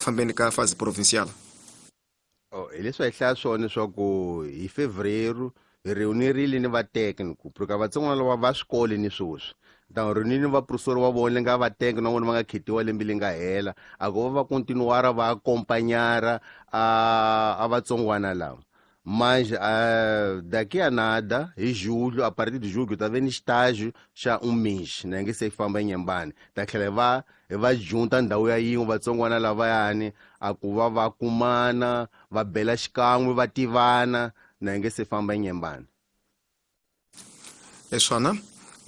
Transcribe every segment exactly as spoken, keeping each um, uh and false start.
fambeni ka fase provincial. Oh, hi leswi hi hlaya swona leswaku hi fevereiro hi reunirile ni va técnico porque vatsongwana lava va swikolo ni sweswi ta reunile ni vaprofessor va vona nga va técnico na vona va nga khetiwa lembe leri nga hela a ku va va continuara va acompanhara a a vatsongwana lava. Mas uh, daqui a nada, em julho, a partir de julho, tá vendo estágio já um mês, né? Que se famba em Nhambane. Tá que levar, vai junta ndhawu ya yin'we vatsongwana lavayani a ku va va kumana, va bela xikan'we, va tivana, né? Que se famba em Nhambane. É swona,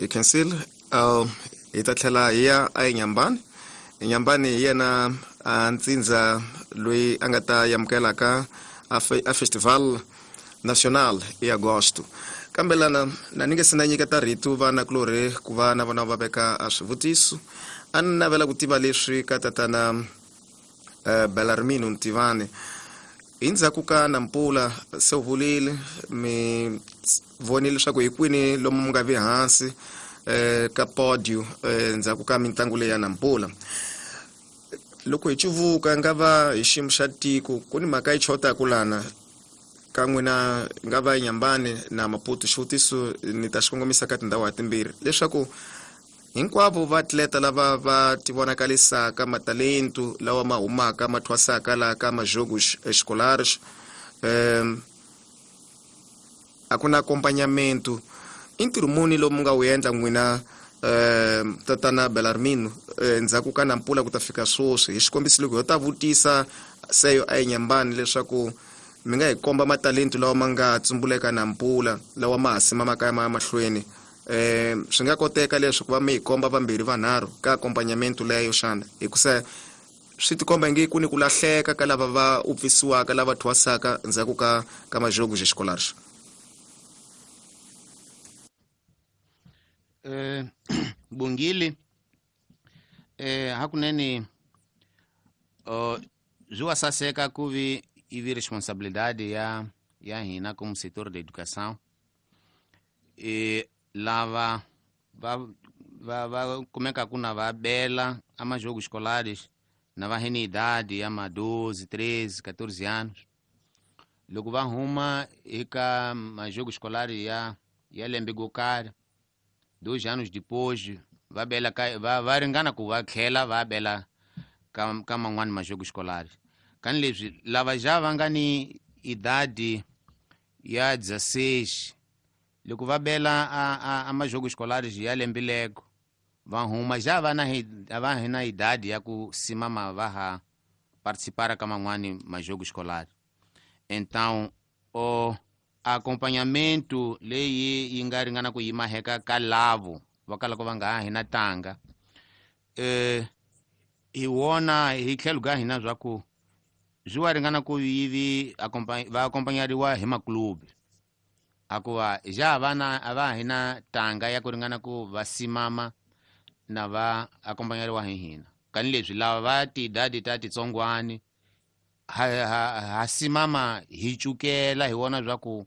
hi khensile, uh, hi ta tlhela hi ya eNyambane. Enyambane hi yena a ntsindza loyi a nga ta amukelaka a, fe, a Festival Nacional em agosto. Kambe lana na ni nge se na nyiketa rito vana kulorhi ku va na vona va veka a swivutiso. A ni navela ku tiva leswi ka tatana uh, Belarmino Ntivani. Hi ndzhaku ka Nampula se u vulile mi vonile leswaku hi kwini lomu mi nga vi hansi eh, ka podio eh, ndzhaku ka mitlangu leyi ya Nampula. Loko hi cuvuka nga va hi xiyimo xa tiko ku ni mhaka yi chotaku lana ka n'wina nga va Nyambane na Maputo. Xivutiso ni ta xi kongomisa ka tindhawu ha timbirhi leswaku hinkwavo vaatleta lava va tivonakalisaka matalentu lawa ma humaka ma thwasaka laha ka majogos escolares um, a ku na acompanhamento. I ntirho muni lowu mi nga wu endla n'wina um tatana Belarmino ndzhaku ka Nampula ku ta fika sweswi? Hi xikombiso loko ho ta vutisa seyo a eNyambane leswaku mi nga hi komba matalentu lawa ma nga tsumbuleka Nampula lawa ma ha simamaka ya ma mahlweni, um swi nga koteka leswi ku va mi hi komba vambirhi vanharhu ka accompagnamento leyo xana? Hikusa swi tikomba nge ku ni ku lahleka ka lava va upfisiwaka lava thwasaka ndzhaku ka ka majogos escolares. Eh, Bungili, eh, hakunene uh, zwi wa saseka ku vi ivi responsabilidade ya ya hina como setor da educação e lava va va va kumeka ku na va bela a majogos escolares na va hene idade ya ma doze, treze, catorze anos. Loko va huma eka majogos escolares ya ya lembe go karhi, dois anos depois va bela ka va va ringana ku va tlhela va bela ka ka man'wani majogos escolares. Kani leswi lava ja va nga ni idade ya dezesseis loko va bela a a, a majogos escolares ya lembe lego va huma ja va na va hina idade ya ku simama va ha participar ka man'wani majogos escolares. Então o acompanhamento leyi yi nga ringana ku yima heka ka lavo va kalaka va nga ha hina tanga eh hi wona hi tlhelo ka hina swa ku swi wa ringana ku yivi va acompanhariwa hi maklubi akuva ja vana a va hina tanga ya ku ringana ku va simama na va acompanhariwa hi hina. Kani leswi lava va tidadi ta titsongwani ha, ha, ha simama hi cukela hi wona swa ku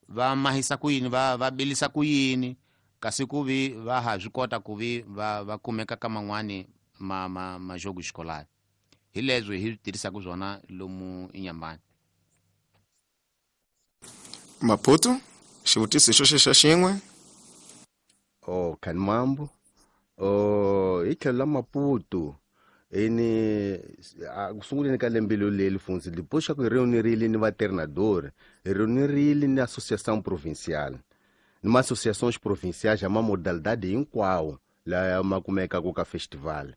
va mahisa ku yini va va bilisa ku yini kasi ku vi va ha swi kota ku vi va va kumeka ka man'wani ma ma majogo escolar. Hi leswi hi tirhisaka swona lomu eNyambane. Maputo, xivutiso xo xexo xin'we. Oh, Kanmambo. Oh, hi tlhelo la Maputo ene ku sunguleni ka lembe leri funzi depois xa ku hi reunirile ni va treinador, hi reunirile ni associação provincial ni ma associações provinciais ya ma modalidade hinkwawo laya ma kumekaka ka festival.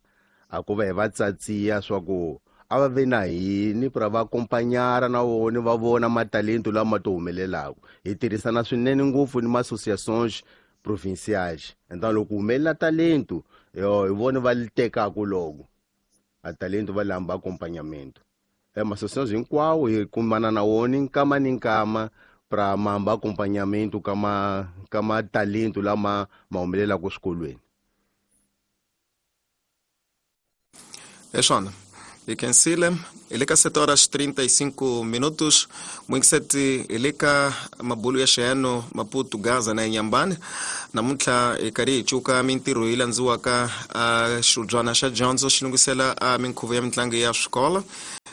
A ku va hi va tsatsiya swa ku a va ve na hini pra va acompanhara na vona va vona matalento lama to humelelaka. Hi tirhisana swinene ngopfu ni ma associações provinciais. Então loko humelela talento yo hi vona va li tekaka loko a talento va lamba acompanhamento. E ma associações hinkwawo hi kumana na wona nkama ni nkama pra mamba acompanhamento ka ma ka ma talento lama ma humelelaka swikolweni. É swona. Hi khensile. Hi le ka sete horas trinta e cinco minutos. Muingiseti hi le ka mabulu ya xiyano Maputo, Gaza na Inhambane. Namuntlha hi karhi hi cuka mintirho yi landziwaka a xibyana xa dyondzo xi lunghisela a minkhuvo ya mitlangu ya swikolo.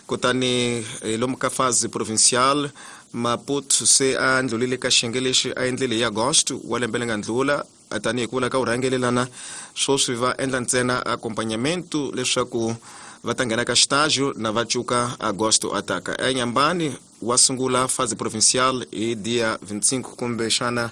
Kutani lomu ka fase provincial Maputo se a ndlulile ka xiyenge lexi a endlile hi Agosto wa lembe leri nga ndlula, tanihi ku vula ka vurhangelelana swoswi va endla ntsena accompagnamento leswaku va ta nghena ka xitajo na va cuka Agosto ataka. Enyambani wa sungula fase provincial hi dia vinte e cinco kumbe xana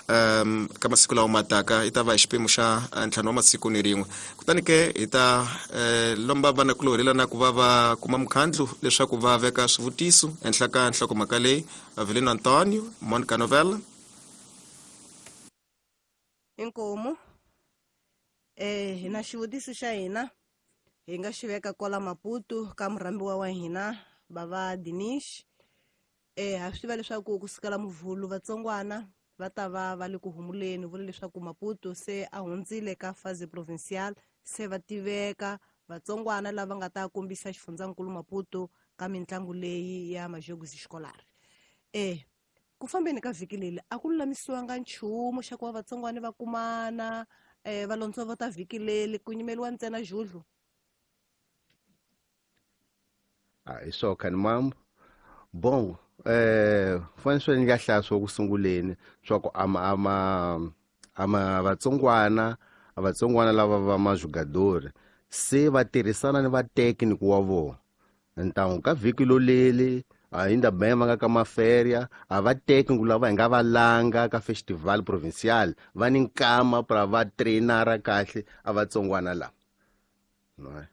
um, ka masiku lawa mataka, i ta va hi xiphemu xa ntlhanu wa masiku ni rin'we. Kutani ke hi ta eh, lomba vanakulorhi lana ku va va kuma mukhandlu leswaku va veka swivutiso ehenhla ka nhlokomhaka leyi. Avelino Antonio, Monica Novella. Inkomu. eh hina xivutiso xa hina hi nga xi veka kwala Maputo ka murhambiwa wa hina bava Dinish. eh ha swi tiva leswaku kusukela Muvhulu vatsongwana va ta va va le ku humuleni, vula leswaku Maputo se a hundzile ka fase provincial, se va tiveka vatsongwana lava nga ta kombisa xifundzankulu Maputo ka mitlangu leyi ya Majogos Escolares. eh ku fambeni ka vhiki leri a ku lulamisiwanga nchumu xa ku va vatsongwana va kumana eh va lontsovota vhiki leri, ku nyimeliwa ntsena judlu? Ah, hi swo khani mambo. Bon, eh fanele swi nga hlaya swo ku sunguleni swa ku ama ama ama vatsongwana vatsongwana lava va majugadori se va tirhisana ni vatekniki wa vona. Ntangu ka vhiki loleli ainda bem va nga ka maferia, a va tekniki lava hi nga va langa ka festival provincial va ni nkama pra va trainara kahle a vatsongwana lava. No.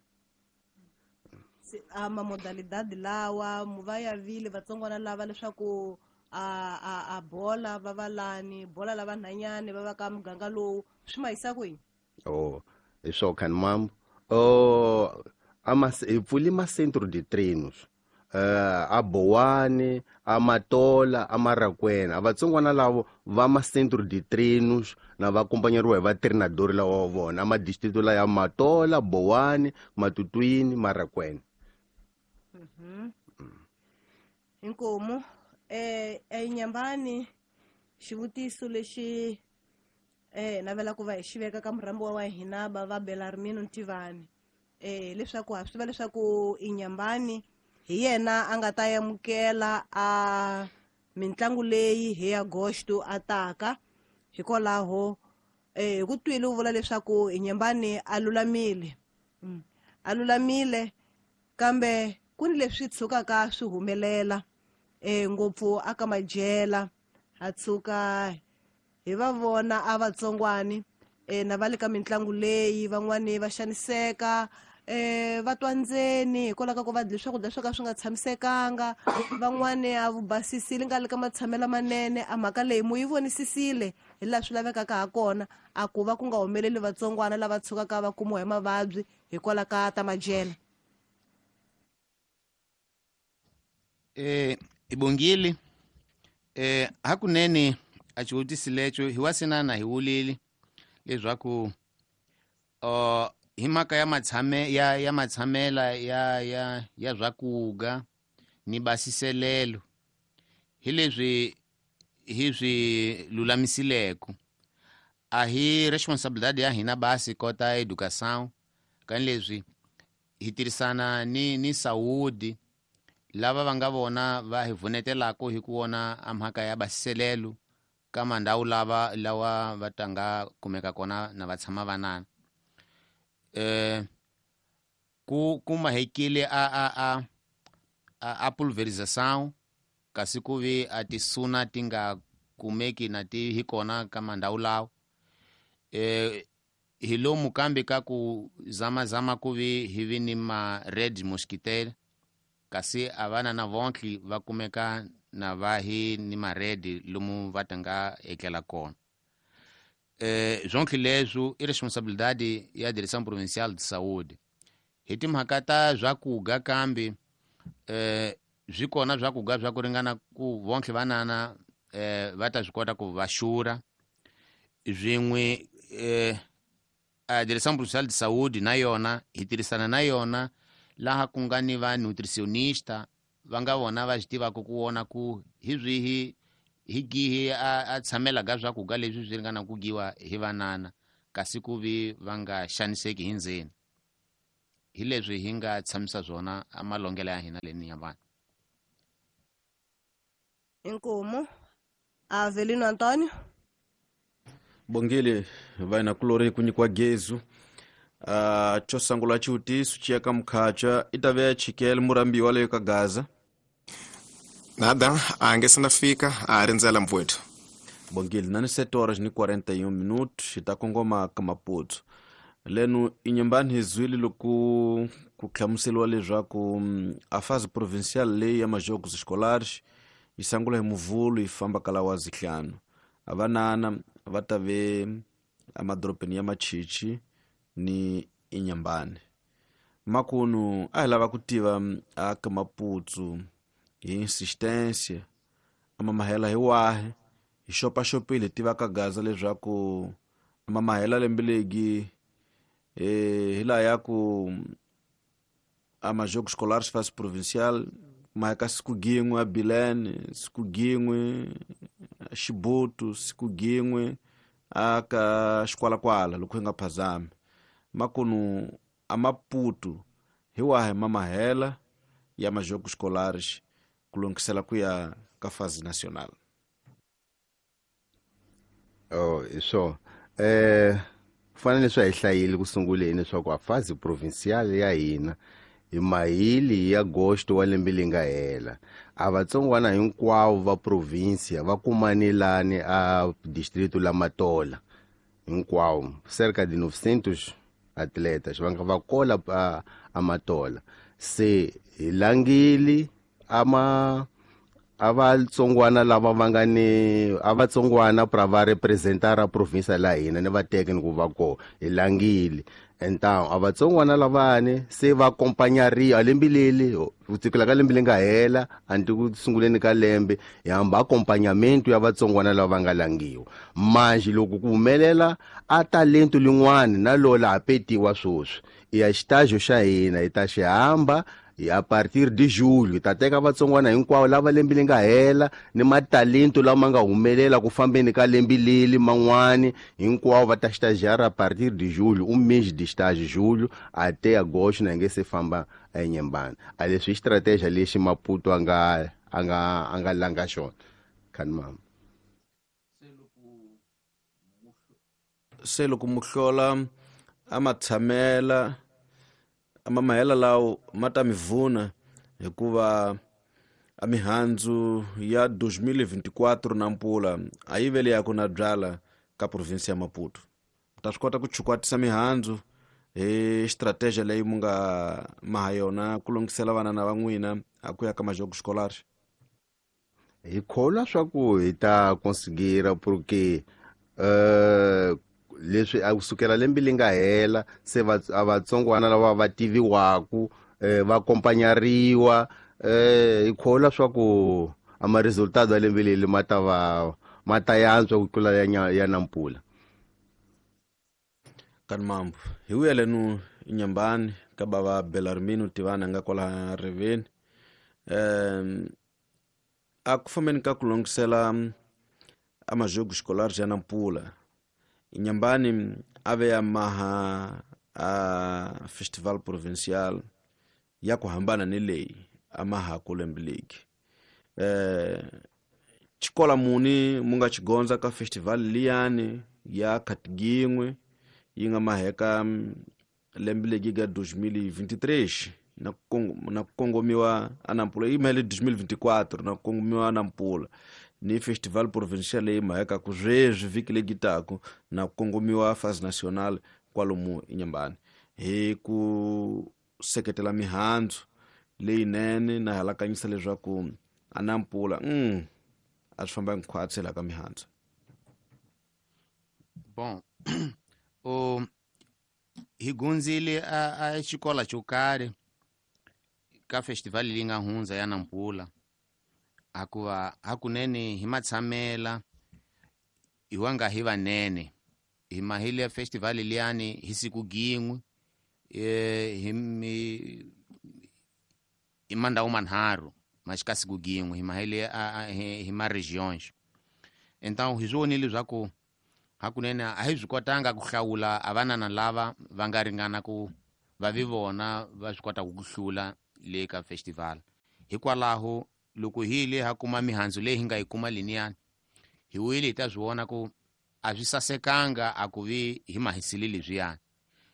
A mamodalidade lawa va ya vile vatsongwana lava leswaku a a a bola va va lani bola lava nhanyani va va ka muganga lowu swi ma yisa kwihi? Oh, hi swo khani mambo. Oh, ama hi pfuli ma centro de treinos uh, a Bowani, a Matola, a Marakwena. A vatsongwana lavo va ma centro de treinos na va acompanhariwa hi va treinador lawa wa vona a ma distrito la ya Matola, Bowani, Matutuini, Marakwena. Inkomu. eh enyambani xivutiso lexi eh navela ku va hi xi veka ka murhambiwa wa hina ba va Belarmino Ntivani, eh leswaku ha swi tiva leswaku Inyambani hi yena a nga ta amukela a mitlangu leyi hi Agosto ataka. Hikwalaho eh hi ku twile u vula leswaku Inyambani a lulamile, mm. a lulamile, kambe ku ni leswi tshukaka swi humelela eh ngopfu aka majela, ha tshuka hi va vona a vatsongwani eh na va le ka mitlangu leyi van'wani va xaniseka, eh va twa ndzeni hikwalaho ka ku va dle swakudya swo ka swi nga tshamisekanga, van'wani a vubasisile nga le ka matshamelo manene. A mhaka leyi mu yi vonisisile hi laha swi lavekaka ha kona, a ku va ku nga humeleli vatsongwana lava tshukaka va kumiwa hi mavabyi hikwalaho ka ta majela? Eh ibongile. eh hakunene a xivutiso lexo hi wasinana hi wulile leswaku uh, hi mhaka ya matshame ya ya matshamela ya ya ya swakuga ni basiselelo hi leswi hi swi lulamisileko. A hi responsabilidade ya hina basi kota educação kan leswi hi tirhisana ni ni saúde lava va nga vona va hi vunetelako hi ku vona a mhaka ya basiselelo ka mandhawu lava lawa va tanga kumeka kona na va tshama vanana. eh ku kumahekile a a a a, a pulverização, kasi ku vi a tisuna ti nga kumeki na ti hi kona ka mandhawu lawa. eh hi lomu kambe ka ku zamazama ku vi hi vi ni ma red mosquitaire, kasi a vana na vontli va kumeka na va hi ni ma red lomu va tanga etlela kona. Eh zonke leswo i responsabilidade ya Direção Provincial de Saúde. Hi timhaka ta swakuga kambe eh swi kona swakuga swa ku ringana ku vonke vanana eh va ta swi kota ku va xura swin'we. eh a Direção Provincial de Saúde na yona hi tirhisana na yona laha ku nga ni va nutricionista va nga vona va swi tivaka ku vona ku hi swihi hi gihi a, a tshamela ka swakuga leswi swi ringana ku giwa hi vanana, kasi ku vi va nga xaniseki hi ndzeni. Hi leswi hi nga tshamisa swona amalongela ya hina le Inhambane. Inkomo Avelino Antônio. Bongile vai na kulori kunyikiwa gezu. Uh, xo sungula xivutiso xi ya ka mukhacha i ta ve chikele murambiwa leyo ka Gaza. Nada, a nge se na fika, a rindzela mpfwetu. Bongile na ni sete horas ni quarenta e um minutos hi ta kongoma ka Maputo. Leno Inhambane hi zwile loko ku hlamuseriwa leswaku a fase provincial leyi ya majogos escolares yi sungula hi Muvhulu yi famba kala wa zihlanu. A vanana va ta ve emadorobeni ya Machichi ni Inhambane. Makunu a hi lava ku tiva a ka Maputo hi insistência a mamahela hi wahi hi xopaxopile hi tiva ka Gaza leswaku a mamahela lembe legi eh hi laha ya ku a majogo escolares fase provincial ma ka siku gin'we a Bilene, siku gin'we a Xibutu, siku gin'we a ka Xikwalakwala loko hi nga phazami. Makunu a Maputo hi wahi mamahela ya majogo escolares ku lunghisela ku ya ka fase nacional. Oh, so eh fanele swi hi hlayile ku sunguleni leswaku a fase provincial ya hina hi mahili ya agosto wa lembe leri nga hela a vatsongwana hinkwavo va provincia va kumanelani a distrito la Matola hinkwavo cerca de novecentos atletas va nga va kola a, a Matola. Se hi langile ama a vatsongwana lava va nga ni a vatsongwana pra va representar a provincia la hina ni va teke ni ku va kona hi langile. Então a vatsongwana lavani se va acompanhariwa lembe leli ku tsikela ka lembe leri nga hela anti ku sunguleni ka lembe hi hamba acompanhamento ya vatsongwana lava va nga langiwa. Manje loko ku humelela a talento lin'wana na lola ha petiwa swoswi i ya xitajo xa hina hi ta xi hamba a partir de julho ta teka vatsongwana hinkwavo lava lembe leri nga hela ni matalento lama nga humelela ku fambeni ka lembe leli man'wani hinkwavo va ta estagiar a partir de julho, um mês de estágio julho até agosto na nge se famba eNyembane. A leswi estratégia lexi Maputo a nga a nga a nga langa xona khani mama. Se loko muhlola a ma tshamela a mamahela lawo ma ta mi vuna hikuva a mihandzu ya dois mil e vinte e quatro na mpula a yi vele ya ku na byala ka province ya Maputo. Ta swi kota ku chukwatisa mihandzu hi strategia leyi mu nga maha yona ku lunghisela vana na va n'wina a ku ya ka majogo escolares. Hi kholwa swa ku hi ta conseguir porque uh, leswi a kusukela lembe leri nga hela se va a vatsongwana lava va tiviwaku eh, va acompanhariwa eh, hi kholwa swa ku a ma resultado ya lembe leri ma ta va ma ta yantswa ku tlula ya, ya nampula. Kan mambo hi vuyelenu Inhambane ka bava Belarmino Tivana nga kwala riveni um a ku fambeni ka ku lunghisela a majogo escolares ya nampula Inhambane a ve ya maha a festival provincial ya ku hambana ni leyi a maha ku lembe legi. Eh xikola muni mu nga xigondza ka festival liyani ya Khatigingwe yi nga maheka lembe legi ga dois mil e vinte e três na na kongomiwa a Nampula yi mahele dois mil e vinte e quatro na kongomiwa a Nampula ni festival provincial leyi maheka ku sweswi vhiki legi taku na kongomiwa fase nacional kwalomu Inhambane hi ku seketela mihandzu leyinene na halakanyisa leswaku a Nampula mm, a swi famba hinkwatsi la ka mihandzu. Bon o hi gunzile a, a xikola xo karhi ka festival leyi nga hundza ya Nampula hakuva hakunene hi matshamela hi wa nga hi vanene hi mahile festival liyani hi siku gin'we eh hi hi mandhawu manharhu ma xika siku gin'we hi mahile hi ma regions. Então hi swi vonile leswaku hakunene a hi swi kotanga ku hlawula a vanana lava va nga ringana ku va vi vona va swi kotaka ku hlula le ka festival. Hikwalaho loko hi le ha kuma mihandzu leyi hi nga yi kuma liniyani, hi wile hi ta swi vona ku a swi sasekanga a ku vi hi mahisile leswiyani.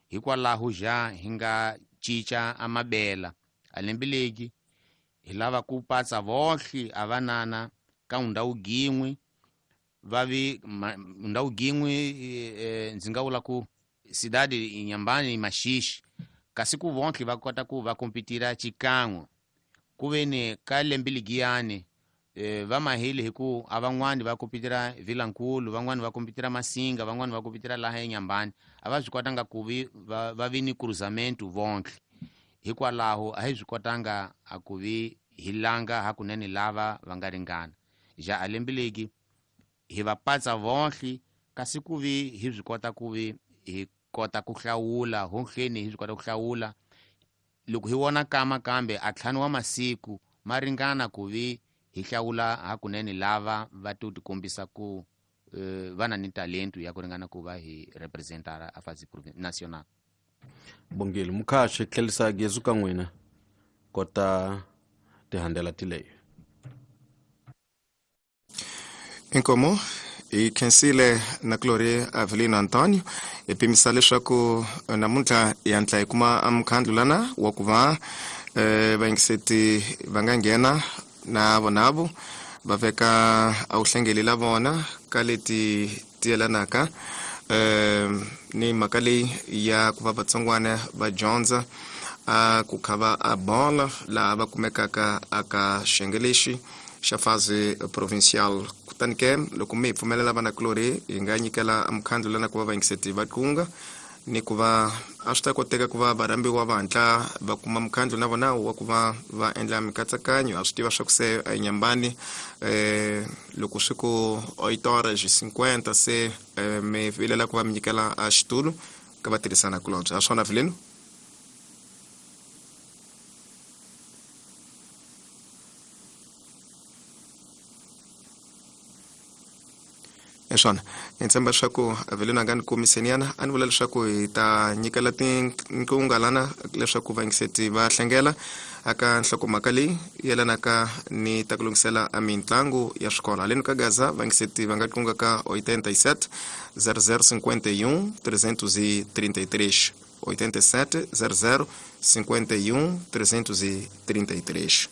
Hikwalaho ja hi nga cinca a mabela a lembe legi hi lava ku patsa vohle a vanana ka ndhawu gin'we va vi ndhawu gin'we ndzi nga vula ku cidade Inhambane Maxixi, kasi ku vonke va kota ku va kompetira xikan'we ku ve ni ka lembe ligiyani eh, va mahile hi ku a van'wani va kompetira Vilankulu, van'wani va kompetira Masinga, van'wani va kompetira laha eNyambani, a va swi kotanga ku vi va, va vi ni cruzamento vonke. Hikwalaho a hi swi kotanga a ku vi hi langa hakunene lava va nga ringana. Ja a lembe legi hi va patsa vonke, kasi ku vi hi swi kota ku vi hi kota ku hlawula honhleni, hi swi kota ku hlawula loko hi vona kama kambe a ntlhanu wa masiku ma ringana ku vi hi hlawula hakunene lava va to tikombisa ku uh, va na ni talento ya ku ringana ku va hi representara a fasi national. Bongile mukhaxi tlhelisa gezu ka n'wina kota tihandela tileyo. Inkomo hi khensile na Gloria Avelino Antonio hi pimisa leswaku namuntlha hi hatla hi kuma mukhandlu lana wa ku va eh, vayingiseti va nga nghena na vonavo va veka a wu hlengeli la vona ka leti ti yelanaka eh, ni mhaka leyi ya ku va vatsongwana va dyondza a ku kha va a bola laha va kumekaka aka xiyenge lexi xa fase provincial. Kutani ke loko mi hi pfumelela vana Glory hi nga nyikela mukhandlu lana ku va vayingiseti va tlunga ni ku va a swi ta koteka ku va varhambiwa va hatla va kuma mukhandlu na vona wa ku va va endla mikatsakanyo. A swi tiva swa ku se a Inhambane eh, loko swi ku oito horas e cinquenta se eh, mi vilela ku va mi nyikela a xitulu ka va tirhisana kulobye. A swona Vileno? Swona ni tshemba leswaku Avelino a nga ni komiseniana a ni vula leswaku hi ta nyikela tinqunga lana leswaku vayingiseti va hlengela aka nhlokomhaka leyi yelanaka ni ta ku lunghisela a mitlangu ya swikolo. Haleni ka Gaza vayingiseti va nga tlunga ka oitenta e sete zero zero cinquenta e um trezentos e trinta e três, oitenta e sete zero zero cinquenta e um trezentos e trinta e três.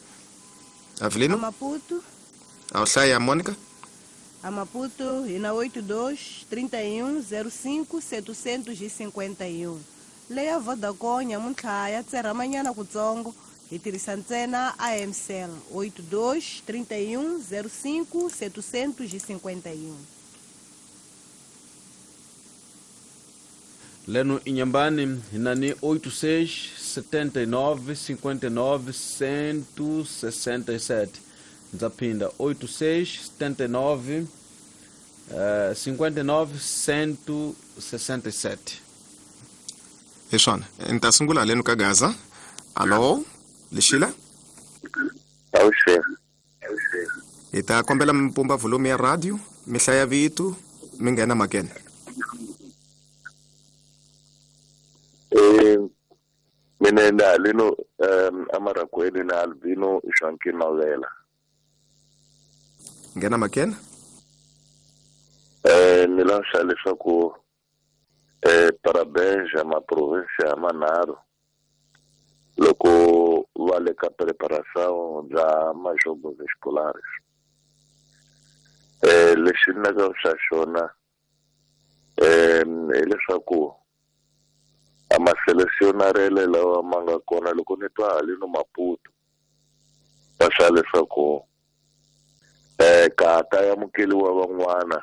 Avelino? Maputo. A hlaya Mônica? A Maputo hi na oito dois trinta e um zero cinco setecentos e cinquenta e um. Leya Vodacom nyamuntlha ya tserhamanyana kutsongo hi tirhisa ntsena A M Cell oito dois trinta e um zero cinco setecentos e cinquenta e um. Leno Inhambane hi na ni oito seis setenta e nove cinquenta e nove cento e sessenta e sete. Ndza oito seis setenta e nove cinquenta e nove cento e sessenta e sete. Hi swona ni ta sungula haleni ka Gaza. Alo Lexila? Awuxe. Hi ta kombela mi pumba volume ya radio, mi hlaya vito, mi nghena makene. Eh mina nda haleno um amarakweli na Albino Joaquim Mawela. Nghena makene? Eh ni lanxa leswaku eh parabéns ma província manharhu loko va le ka preparação bya majogos escolares. Eh lexi ni nga xa xona eh hileswaku a ma selecionarele lawa ma nga kona loko ni twa haleno Maputo va xa leswaku eh ka ta amukeliwa van'wana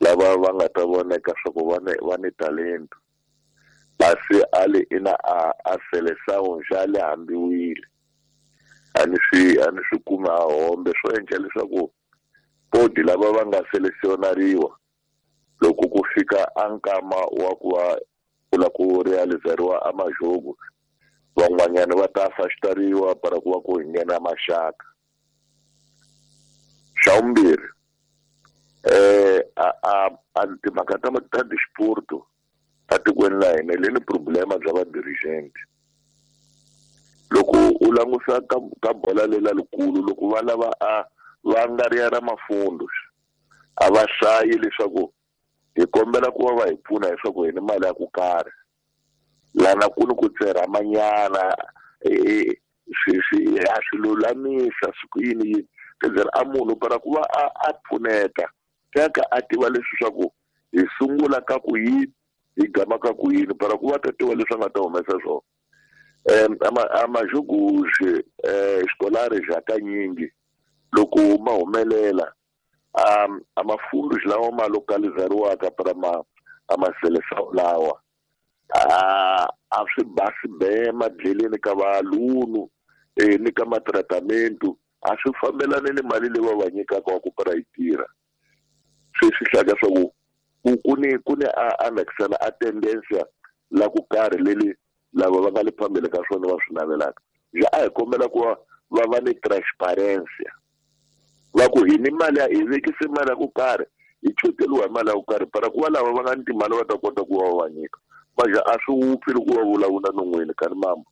lava va nga ta voneka swa ku va ni va ni talento basi ali ina a a seleção já le hambiwile a ni swi a ni swi kuma a hombe swo endla leswaku podi lava va nga selecionariwa loko ku fika a nkama wa ku va ku la ku realizeriwa a majogo van'wanyana va ta afastariwa para ku va ku hi nghena maxaka. Xa vumbirhi eh a a a timhaka ta ta disporto Atikweni la hina le ni problema bya va-dirigent. Loko u langusa ka ka bola lela likulu loko va lava a va nga ri ya ra mafundo a va hlayi leswaku hi kombela ku va va hi pfuna leswaku hi ni mali ya ku karhi lana ku ni ku tserhamanyana swi swi a swi lulamisa swi ku yini yini kenzela a munhu para ku va a a pfuneta teka a tiva leswi swa ku hi sungula ka ku yini hi gama ka ku yini para ku va ta tiva leswi a nga ta humesa swona. Um ama amajoguxe eh escolares hakanyingi loko ma humelela um amafundos lawa ma localizariwaka para ma amaseleção lawa a a swi basi be madleleni ka valunu eh ni ka matratamento a swi fambelani ni mali leyi va va nyikaka wa ku para yi tirha. Swi swi hlaka swa ku ku ni ku ni a anexela a tendencia la ku karhi leli lava va nga le phambili ka swona va swi navelaka. Ja a hi kombela ku va va va ni transparency va ku hi ni mali ya hi vekise mali ya ku karhi hi choteliwa hi mali ya ku karhi para ku va lava va nga ni timali va ta kota ku va va nyika maja a swi wupfi loko va vulavula non'wini ka ni mambo.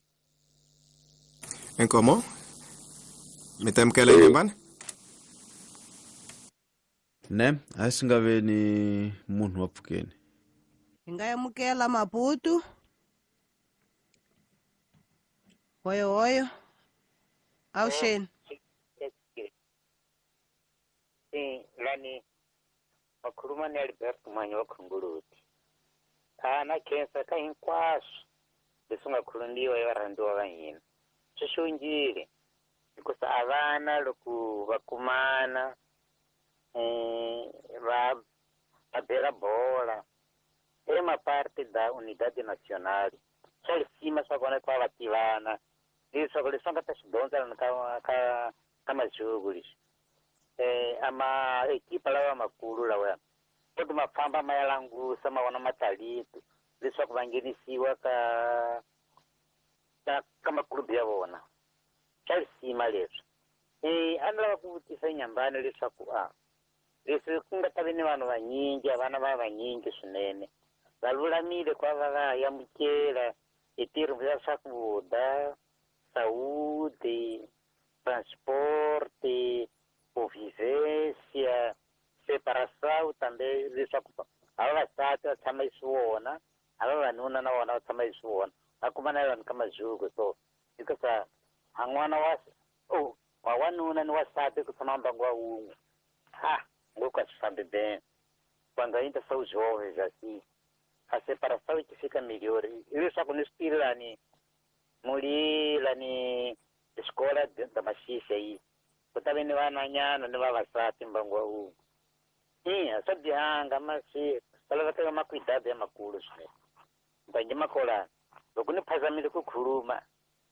Inkomo mi ta amukela Inyambani? Ne a swi nga ve ni munhu wa pfukeni. Hi nga amukela Maputo. Hoyo hoyo. Awuxeni. Eh lani wakhuluma ni Alberto Manyo wa Khongoloti. Ana khensa ka hinkwaswo leswi nga khulumbiwa hi varhandziwa va hina. Swi xongile hikusa a vana loko va kumana eh va va bela bola é uma parte da unidade nacional. Swa lisima swa kona ku va va tivana leswaku leswi va nga ta swi dyondza lana ka ka ka majuku leswi eh ama ekipa lawa makulu lawa koti ma famba ma ya langusa ma vona matalito leswaku va nghenisiwa ka ka ka makulubu ya vona. Swa lisima leswi. Eh a ni lava ku vutisa Inyambani leswaku a leswi ku nga ta vi ni vanhu vanyingi vana va vanyingi swinene va lulamile ku va va va amukela hi tirho ya swakudya, saúde, transporte, convivência, separação também leswaku a vavasati va tshama xiswona a vavanuna na vona va tshama xiswona va kuma na vanhu ka majuku so hikusa a n'wana wa oh wa wanuna ni wasati ku tshama mbangu wa wun'we ha ngopfu a swi fambi bem quando ainda são jovens assim a separação que fica melhor leswaku ni swi tivi lani muli lani escola da Maxixe aí ku ta ve ni vanhwanyana ni vavasati mbangu wa wun'we. Ina swa bihanga masi swa laveka makwidadi ya makulu swinene mbangi makolana loko ni phazamile ku khuluma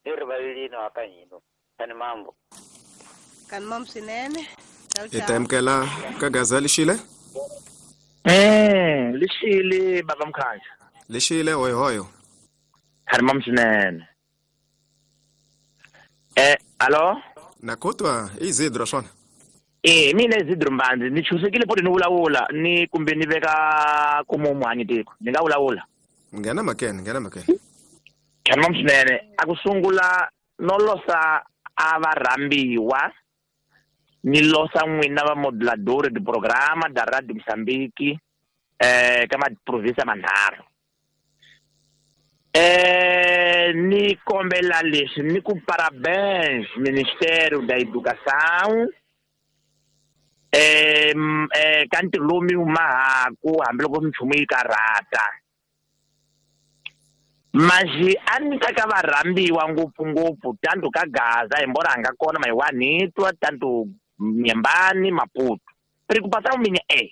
ni rivalelini wa ka hina tani mambo kani mambo swinene. Hi ta amukela ka Gaza Lixile. Eh Lixile baba Mkhanya. Lixile hoyo hoyo. Kani mambo swinene. Eh alo na kotwa Isidro swona. Eh mina Isidro Mbandzi ni chusekile poti ni vulavula ni kumbe ni veka ku muhanyi tiko ni nga vulavula. Nghena makene nghena makene. Kani mambo swinene a ku sungula no losa a va rhambiwa ni losa n'wina va modulador de programa da Radio Moçambique eh ka maprovinsia manharhu. Eh ni kombela leswi ni ku parabéns Ministério da Educação eh eh ka ntirho lowu mi wu mahaku hambiloko minchumu yi karhata. Mas a ni ta ka varhambiwa ngopfungopfu tanto ka Gaza hi mbora nga kona Maiwanitwa tanto Nyambani Maputo. Preocupação minha é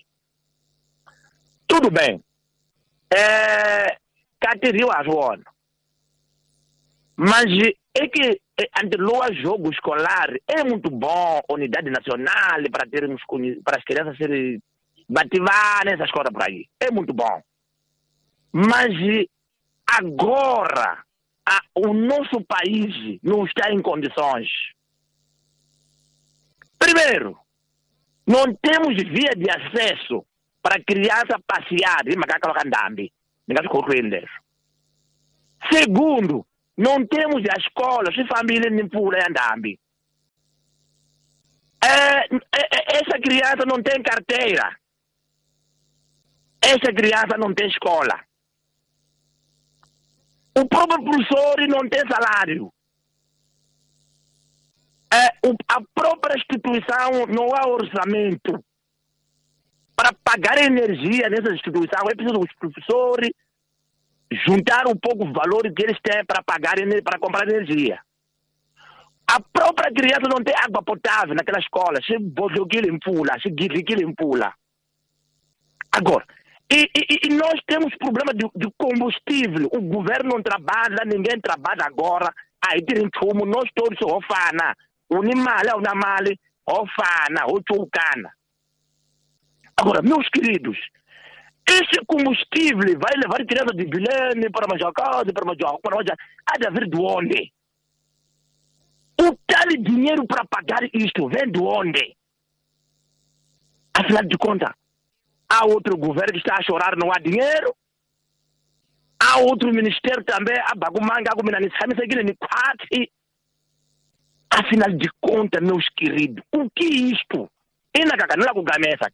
tudo bem eh ka tirhiwa swona mas é que anteloa jogo escolar é muito bom unidade nacional para termos para as crianças serem bativar nessas escola por aí é muito bom mas agora a, o nosso país não está em condições. Primeiro, não temos via de acesso para criança passear de macaca Ndambi. Ni nga swi khohlweni leswo. Segundo, não temos a escola, swi fambile ni mpfula ya ndhambi. É, essa criança não tem carteira. Essa criança não tem escola. O próprio professor não tem salário. É, o, a própria instituição não há orçamento. Para pagar energia nessa instituição, é preciso os professores juntar um pouco o valor que eles têm para pagar, para comprar energia. A própria criança não tem água potável naquela escola. Se bodokile mpula, se gidlikile mpula. Agora, e, e, e nós temos problema de, de combustível. O governo não trabalha, ninguém trabalha agora. Aí tem fumo, nós todos ofana. Unimale, unamale, ofana, ochucana. Agora, meus queridos, esse combustível vai levar criança de Bilene para Majacá, para Majacá, para Majacá, há de haver de onde? O tal dinheiro para pagar isto vem de onde? Afinal de contas, há outro governo que está a chorar, não há dinheiro. Há outro ministério também, a Bagumanga, a. Afinal de contas, meus queridos, o que é isto? E na cacanula com gamesa.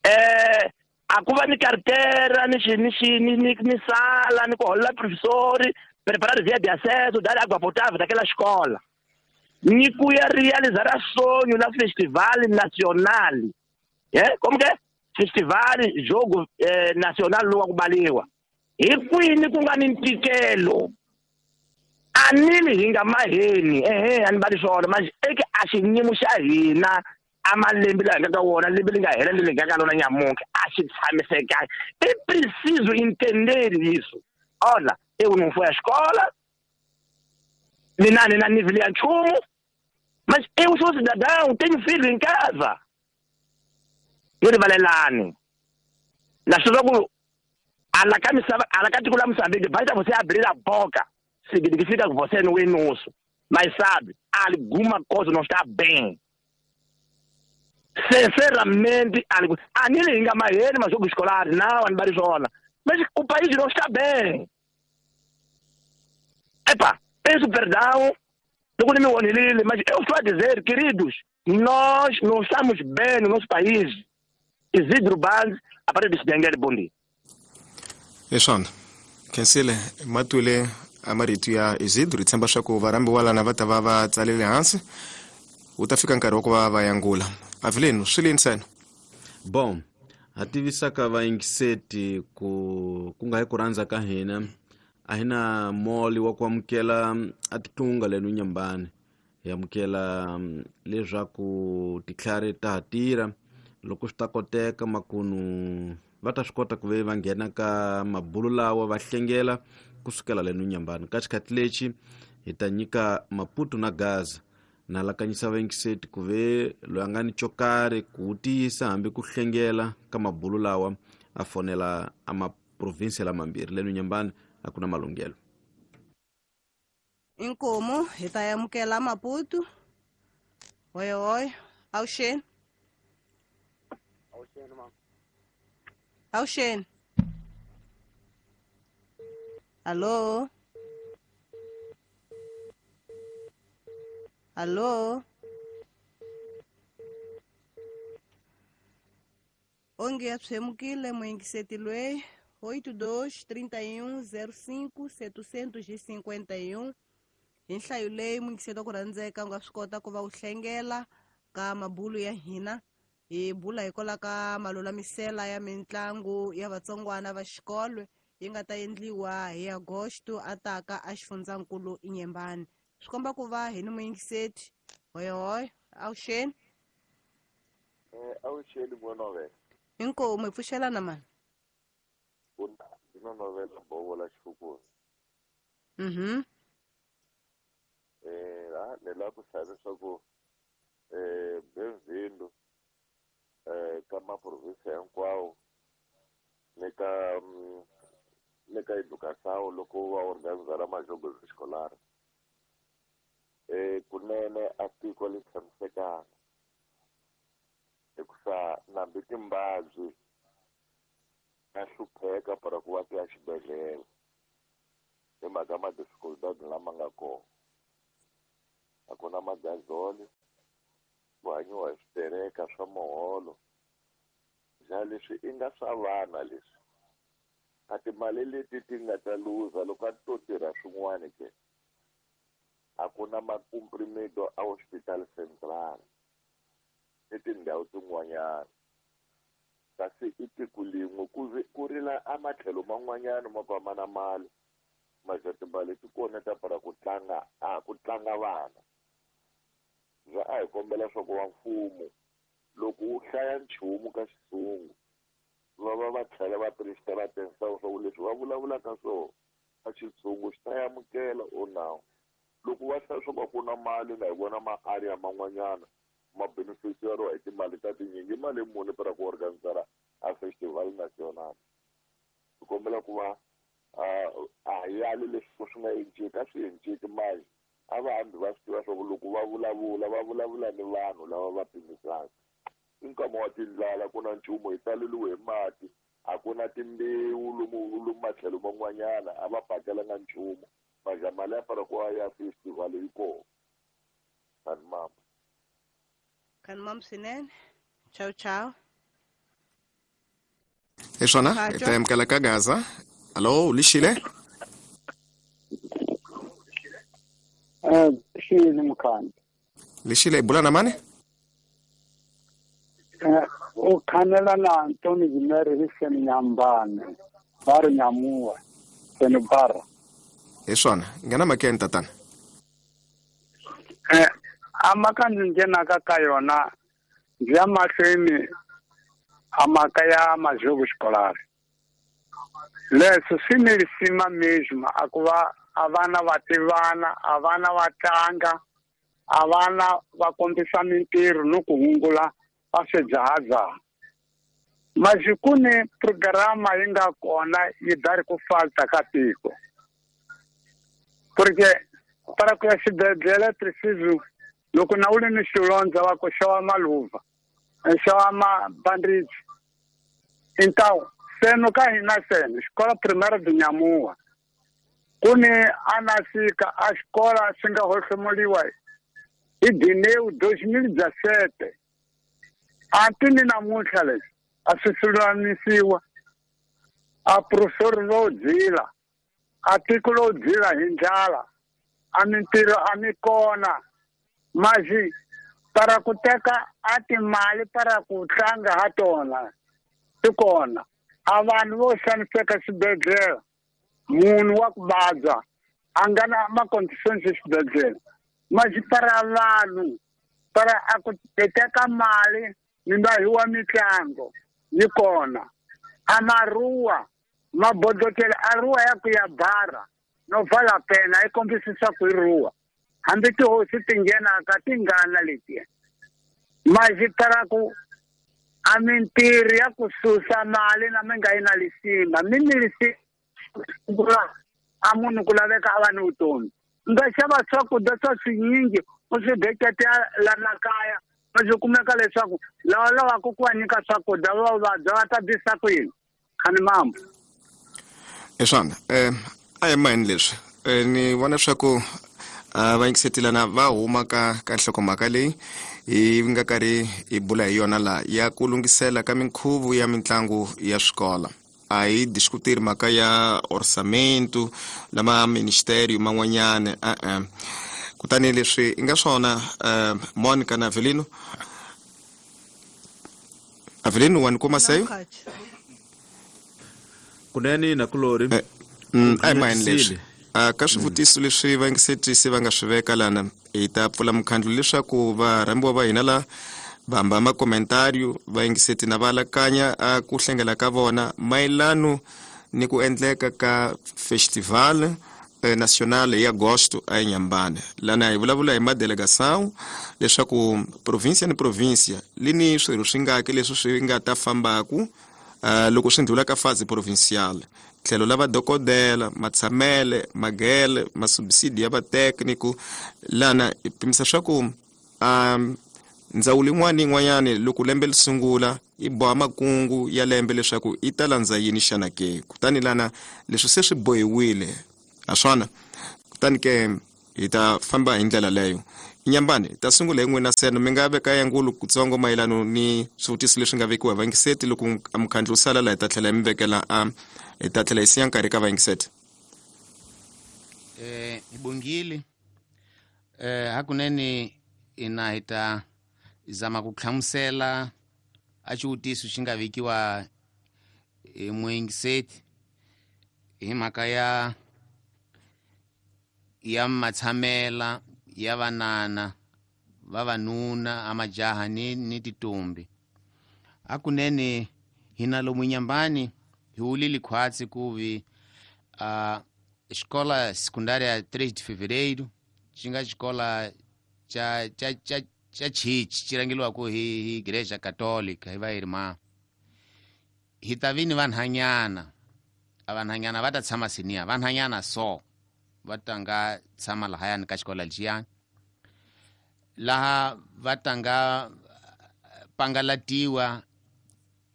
É, a cuba ni carteira, ni, ni, ni, ni sala, ni colar professor, preparar via de acesso, dar água potável daquela escola. Ni cuia realizar sonho na Festival Nacional. É? Como que é? Festival Jogo eh, Nacional Lua Kubaliwa. E kwini kungani ntikelo. Anili hinga maheni, ehe, anibali swona, mas eke a xiyimo xa hina amalembe lawa hi nga ka wona, lembe li nga hela lembe li nga ka lona nyamuntlha, a xi tshamisekanga. É preciso entender isso. Olha, eu não fui à escola, mina ni na nível ya nchumu, mas eu sou cidadão, tenho filho em casa. Yo rivalelani. Na swi ku ala ka misava, ala ka tiko la Moçambique, basta você abrir a boca, significa que você não é nosso. Mas sabe, alguma coisa não está bem. Sinceramente, anile hinga maheni majogo escolar, não, anibarizona. Mas o país não está bem. Epa, peço perdão, mas eu estou a dizer, queridos, nós não estamos bem no nosso país. Isidro Banz, a partir de Xidengele, bom dia. Eshona, khensile matwile amarito ya Isidro, hi tshemba swa ku varhambiwa lana va ta va va tsalele hansi, wu ta fika nkarhi wa ku va va yangula. Avelino, swi le ntsena. Bom, ha tivisaka vayingiseti ku ku nga hi ku rhandza ka hina, a hi na moli wa ku amukela a titlunga leno Nyambani. Hi amukela leswaku titlhari ta ha tirha, loko swi ta koteka makunu va ta swi kota ku ve va nghena ka mabulu lawa va hlengela kusukela leno Nyambani. Ka xikhathi lexi hi ta nyika Maputo na Gaza. Na lakanyisa vayingiseti ku ve loyi a nga ni xo karhi ku tiyisa hambi ku hlengela ka mabulu lawa a fonela a maprovinsi lamambirhi leno Nyambani a ku na malunghelo. Inkomu hi ta amukela Maputo. Oi oi, avuxeni. Avuxeni mama. Avuxeni. Alô? Alô? Onge ya tshemukile muyingiseti loyi oito dois trinta e um zero cinco setecentos e cinquenta e um. Hi nhlayo leyi muyingiseti wa ku rhandzeka u nga swi kota ku va u hlengela ka mabulu ya hina. Hi bula hikwalaho ka malulamisela ya mitlangu ya vatsongwana va xikolo yi nga ta endliwa hi Agosto a taka a xifundzankulu Inyembani. Swi komba ku va hi ni muyingiseti. Hoy hoy, avuxeni. Eh, avuxeni n'wana. Inkomu hi pfuxelana mani. Ndzi novela bovo la xifukuni. Mhm. Eh, la ni lava ku hlaya leswaku eh bem-vindo eh ka maprovinsi hinkwawo ni ka ni ka educação loko va organizara majogo escolar. Eh kunene a tiko li tshamisekanga hikusa nambi timbabyi Ta hlupheka para ku va ti ya xibedhlele hi mhaka ma-dificultad lama nga kona. A ku na magazole, ku hanyiwa hi switereka swa muholo. Ja leswi i nga swa vana leswi. A timali leti ti nga ta luza loko a ti to tirha swin'wana ke. A ku na makomprimedo a hospital central ni tindhawu tin'wanyana. Kasi i tiko lin'we ku ku rila a matlhelo man'wanyana ma va ma na mali. Maja timali ti kona ta para ku tlanga a ku tlanga vana. Ja a hi kombela swa ku va mfumo loko wu hlaya nchumu ka xilungu va va va tlhela va prestela atenção swa ku leswi va vulavulaka swona a xitshungu xi ta amukela o nawu. Loko va hlaya swa ku a ku na mali na hi vona ma-area man'wanyana ma beneficiary hi timali ta tinyingi mali muni para ku organizara a festival national. Hi kombela ku va a yali leswi swi nga enciki a swi enciki mali a va hambi va swi tiva swa ku loko va vulavula va vulavula ni vanhu lava va pimisaka. I nkama wa tindlala ku na nchumu hi taleliwe hi mati a ku na timbewu lomu lomu matlhelo man'wanyana a va pakelanga nchumu maja mali ya fana ku ya festival yi kona. Kani mama. Kani mama swinene. Ciao ciao. Hi swona hi ta amukela ka Gaza. Alo, lixile? Eh, lixile mkhana. Lixile bula na mani? Eh, u khanela na Antoni Zimere hi seni Nyambane, va ri Nyamuwa, seni Bara. Hi swona, nghena makeni tatana. Eh, a mhaka ndzi nghenaka ka yona ndzi ya mahlweni a mhaka ya majogo xikolari. Leswi swi ni risima mesmo a ku va a vana va tivana, a vana va tlanga, a vana va kombisa mintirho ni ku hungula va swidzahadzaha. Masi ku ni programa yi nga kona yi dari ku falta ka tiko. Porque para ku ya xibedhlele preciso loko na u ri ni xilondza va ku xava maluva, xava mabandage. Então seno ka hina seno xikola primaire de Nyamuwa ku ni anasika a xikola xi nga hohlomuliwa hi Dineu dois mil dezessete. Anti ni namuntlha leswi a swi lulamisiwa. A professor ro dzila a tiko ro dzila hi ndlala a mintirho a mi kona. Masi para ku teka a timali para ku tlanga ha tona ti kona. A vanhu vo xaniseka xibedhlele munhu wa ku vabya a nga na ma-conditions xibedhlele. Masi para vanhu para a ku teka mali mi nga hiwa mitlango yi kona. A maruwa mabodlotela a ruwa ya ku ya bara no vala pena yi kombisisa ku yi ruwa. Hambi tihosi ti nghenaka ti ngana letiya. Masi para ku a mintirho ya ku susa mali na mi nga yi na lisima mi ni lisima a munhu ku laveka a va ni vutomi. U nga xava swakudya swa swinyingi u swi beketela lana kaya ma swi kumeka leswaku lava lavaka ku va nyika swakudya va vabya va ta bisa ku yini. Khani mama. Hi swona eh a hi mayini leswi ni vona leswaku va yingisetelana va huma ka ka nhlokomhaka leyi hi nga karhi hi bula hi yona la ya ku lunghisela ka minkhuvo ya mitlangu ya swikolo. A hi discutir mhaka ya orçamento lama ministério man'wanyana e-e. Kutani leswi i nga swona Monica na Avelino. Avelino wa ni kuma seyo? Kunene na kulori. A hi mayini leswi. Ka swivutiso leswi vayingisetisi va nga swi veka lana hi ta pfula mukhandlu leswaku varhambiwa va hina la va hamba makomentariyo va yingiseti na va alakanya a ku hlengela ka vona mayelano ni ku endleka ka festival national hi agosto a Inhambane. Lana hi vulavula hi madelegação leswaku província ni província li ni swirho swi ngaki leswi swi nga ta fambaku loko swi ndlula ka fase provincial. Tlhelo la vadokodela matshamele magele masubsidi ya vatécnico lana hi pimisa swa ku um, Ndzawulo yin'wana ni yin'wanyana loko lembe li sungula yi boha makungu ya lembe leswaku yi ta landza yini xana ke. Kutani lana leswi se swi bohiwile a swona, kutani ke hi ta famba hi ndlela leyo. Inyambani ta sungula hi n'wina seno mi nga veka yangulo kutsongo mayelano ni swivutiso leswi nga vekiwa hi vayingiseti. Loko mukhandlu wu sala laha hi ta tlhela hi mi vekela a hi ta tlhela hi siya nkarhi ka vayingiseti. Eh hi bongile eh hakunene ina hi ta zama ku hlamusela a xivutiso xi nga vekiwa hi muyingiseti hi mhaka ya ya matshamela ya vanana vavanuna amajaha ni ni titombi. Hakunene hina lomu Inhambane hi wulile khwatsi kuvi a escola secundária três de Fevereiro xi nga xikola xa xa xa xa chichi xi rhangeliwaka hi hi Igreja Católica hi va irmã. Hi ta vi ni vanhanyana, a vanhanyana va ta tshama siniya, vanhanyana so va tanga tshama lahayani ka xikola lexiyani, laha va tanga pangalatiwa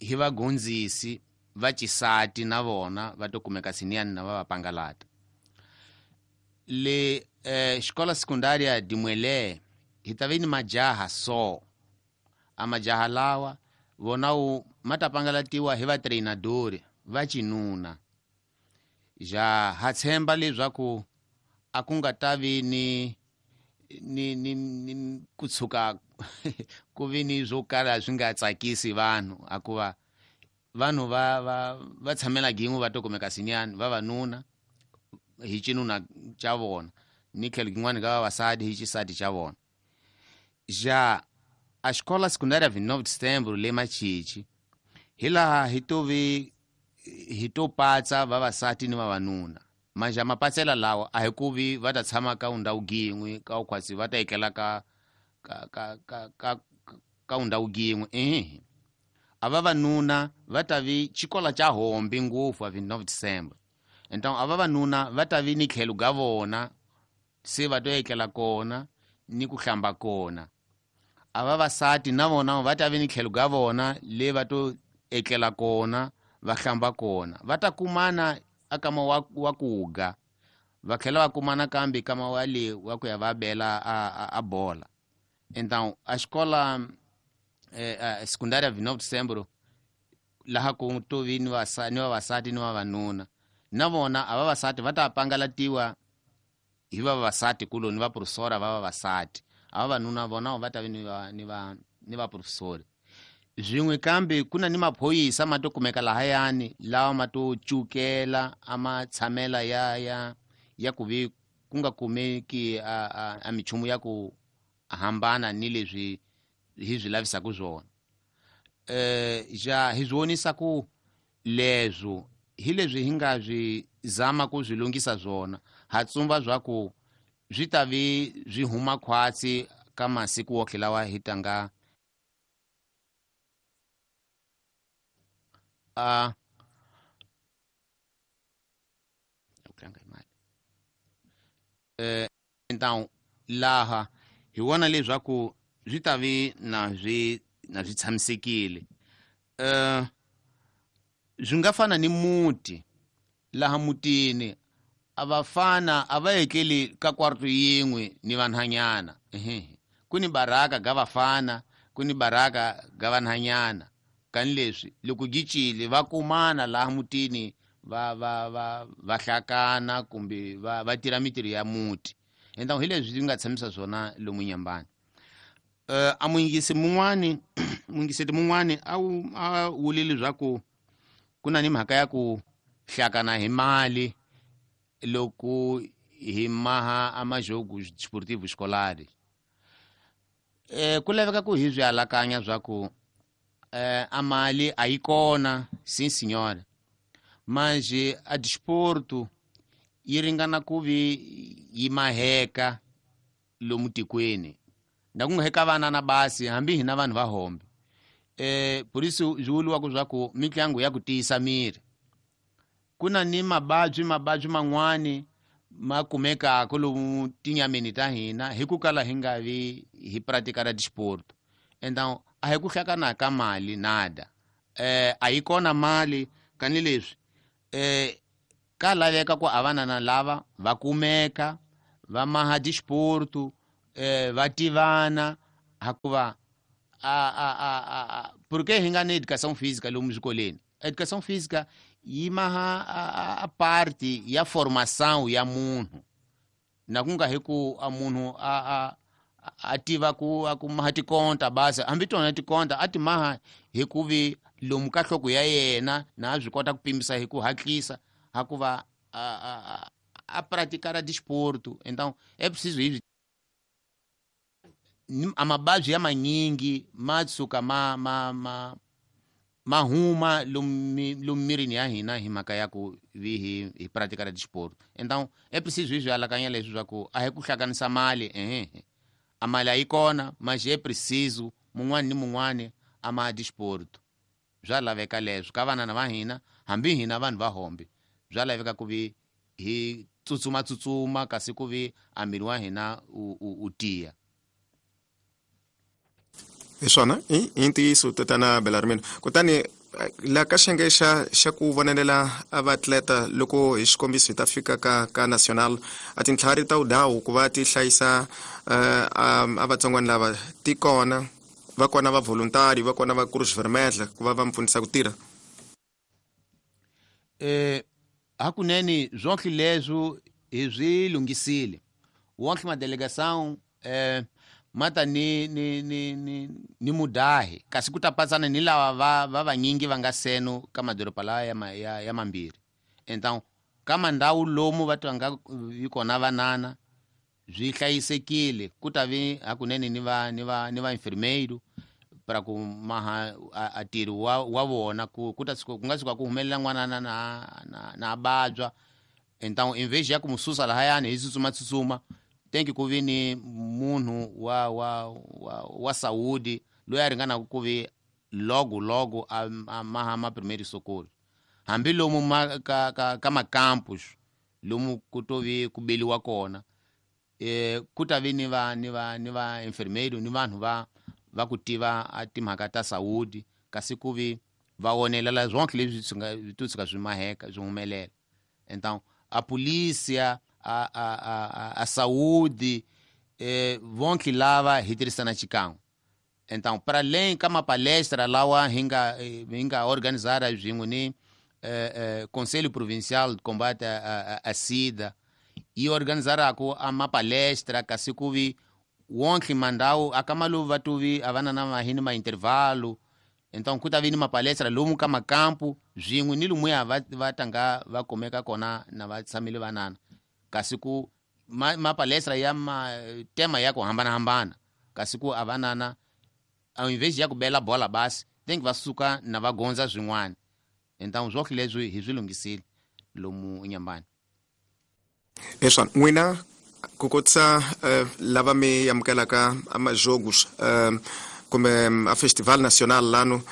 hi vagondzisi va xisati na vona va to kumeka siniyani na va va pangalata. Le eh, escola secundária de Muelé hi ta vi ni majaha so, a majaha lawa vona wu ma ta pangalatiwa hi vatreinadori va xinuna. Ja ha tshemba leswaku a ku nga ta vi ni ni ni, ni ku tshuka ku vi ni swo kala swi nga tsakisi vanhu, hikuva vanhu va va va tshamela gin'we va to kumeka sinyani vavanuna hi xinuna xa vona ni tlhelo gin'wana ka vavasati hi xisati xa vona. Ja a escola secundária vinte e nove de setembro le Machichi hi laha hi to vi hi to patsa vavasati ni vavanuna. Manje mapatsela lawa a hi ku vi va ta tshama ka ndhawu yin'we ka ukhwatsi va ta etlela ka ka ka ka ka ka ndhawu yin'we ehe. A vavanuna va ta vi xikola xa hombi ngopfu a vinte e nove de setembro. Então a vavanuna va ta vi ni tlhelo ga vona se va to etlela kona ni ku hlamba kona. A vavasati na vona va ta vi ni tlhelo ga vona le va to etlela kona va hlamba kona. Va ta kumana akama wa, wa kuga va tlhela va kumana kambe kama wa le wa ku ya va bela a, a, a bola. Então a escola eh, a secundária vinte e nove de setembro laha ku to vi ni vavasati ni vavanuna na vona a vavasati va ta pangalatiwa hi vavasati kuloni va professora va vavasati, a vavanuna vona va ta vi ni va ni va ni va professori. Swin'we kambe ku na ni maphorisa ma to kumeka lahayani lawa ma to cukela a ma tshamela ya ya ya ku vi ku nga kumeki a, a, a minchumu ya ku hambana ni leswi hi swi lavisaka swona. Eh ja hi swi vonisa ku leswo hi leswi hi nga swi zama ku swi lunghisa swona, ha tsumba swa ku swi ta vi swi huma khwatsi ka masiku woke lawa hi tanga a eh então laha hi vona leswaku swi ta vi na swi na swi tshamisekile. Eh swi nga fana ni muti, laha mutini a vafana a va etleli ka kwarto yin'we ni vanhanyana. Ehe ku ni baraka ga vafana, ku ni baraka ga vanhanyana. Kani leswi loko gicile va kumana laha mutini va va va va hlakana kumbe va va tirha mitirho ya muti. Então hi leswi swi nga tshamisa swona lomu Inhambane. Eh a muyingisi mun'wani muyingiseti mun'wani a wu a wulile leswaku ku na ni mhaka ya ku hlakana hi mali loko hi maha a majogo desportivo escolar. Eh ku laveka ku hi swi alakanya swa ku eh a mali a yi kona, sim senhora, manje a desporto yi ringana ku vi yi maheka lomu tikweni na ku nga heka vana na basi hambi hina vanhu va hombe. Eh por isso swi vuriwaka swa ku mitlangu ya ku tiyisa miri. Ku na ni mababyi mababyi man'wani ma kumekaka lomu tinyameni ta hina hi ku kala hi nga vi hi pratika ra desporto. Então a hi ku hlakana ka mali nada. Eh a yi kona mali kani leswi eh ka laveka ku avanana lava va kumeka va maha disporto eh va tivana hakuva a a a a porque hi nga ni educação física lomu swikolweni. Educação física yi maha a, a, a parte ya formação ya munhu na ku nga hi ku a munhu a a a tiva ku a ku maha tikonta basi hambi tona tikonta a ti maha hi ku vi lomu ka nhloko ya yena na a swi kota ku pimisa hi ku hatlisa hakuva a a a, a praticar desporto. Então é preciso isso. Amabadzi ya manyingi ma tshuka ma ma ma ma huma lomu lomu mirini ya hina hi mhaka ya ku vi hi hi praticar desporto. Então é preciso isso alakanya leswi swa ku a hi ku hlanganisa mali ehe a mali a yi kona mas é preciso mun'wani ni mun'wani a ma desporto. Bya laveka leswi ka vanana va hina hambi hina vanhu va hombe bya laveka ku vi hi tsutsuma tsutsuma kasi ku vi a miri wa hina u, u, u tiya. Hi swona i i ntiyiso tatana Belarmino. Kutani la ka xiyenge xa xa ku vonelela a vaatleta loko hi xikombiso hi ta fika ka ka national a tintlhari ta udawu ku va ti hlayisa uh, a vatsongwana lava ti kona va kona va voluntary va kona va Cruz Vermelha ku va va mpfunisa ku tirha. Eh hakunene zwonke leswo hi swi lunghisile wonke madelegação eh mata ni ni ni ni ni mudahi kasi ku ta patsana ni lava va va vanyingi va nga seno ka madoroba lawa ya, ya ya mambirhi. Então ka mandhawu lomu va twanga yi kona vanana swi hlayisekile ku ta vi hakunene ni va ni va ni va enfermeiro para ku maha a tirhi wa wa vona ku ku ta ku nga tshuka ku humelela n'wana na na na babywa. Então em vez ya ku mususa lahayani hi tsutsuma tsutsuma tem que ku vi ni munhu wa wa wa, wa saúde loyi a ringanaka ku vi logo logo a, a maha ma primeiro socorro hambi lomu ma ka ka, ka macampus lomu ku to vi ku beliwa kona eh ku ta vi ni va ni va ni va enfermeiro ni vanhu va va ku tiva a timhaka ta saúde kasi ku vi va wonelela zwonke leswi swi nga swi tshuka swi maheka swi humelela. Então a polícia a a a a saúde eh vonke lava hi tirhisana xikan'we. Então para além ka mapalestra lawa hi nga hi nga organizara swin'we ni eh, eh, Conselho Provincial de Combate a, a, a SIDA yi organizaraku a mapalestra kasi ku vi wonke mandhawu a ka maluva va tuvi a va na mahini ma intervalo. Então ku ta vi ni mapalestra lomu ka makampu swin'we ni lumuya va va tanga va kumeka kona na va tshamile vanana kasi ku ma, mapalestra ya ma tema ya ku hambanahambana kasi ku a vanana ao invés ya ku bela bola basi tem que va suka na va gondza swin'wana. Então swonke leswi hi swi lunghisile lomu Inhambane. Hi swona n'wina ku kotisa uh, lava mi amukelaka amajogos uh, kumbe a festival nacional lano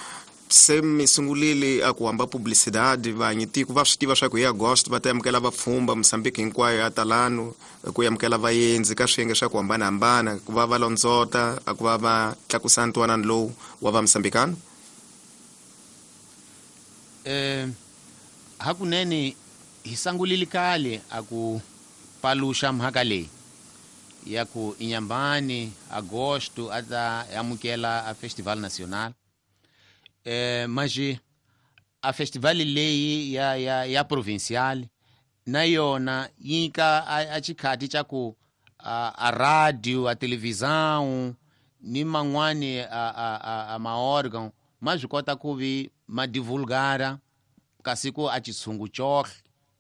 se mi sungulile a ku hamba publicidade vanyi tiko va swi tiva swa ku hi agosto va ta amukela vapfhumba Mozambique hinkwayo ya talano ku amukela vaendzi ka swiyenge swa ku hambanahambana ku va va londzota a ku va va tlakusa ntwanano lowu wa va Mozambikano. Eh hakunene hi sangulile kale a ku paluxa mhaka leyi ya ku Inhambane agosto a ta amukela a festival nacional. Eh mas a festival leyi ya ya ya provincial na yona yi nyika a, a xikhati xa ku a, a radio a televisão ni man'wani a a a, a maórgão ma swi kota ku vi ma divulgara kasi ku a xitshungu xohle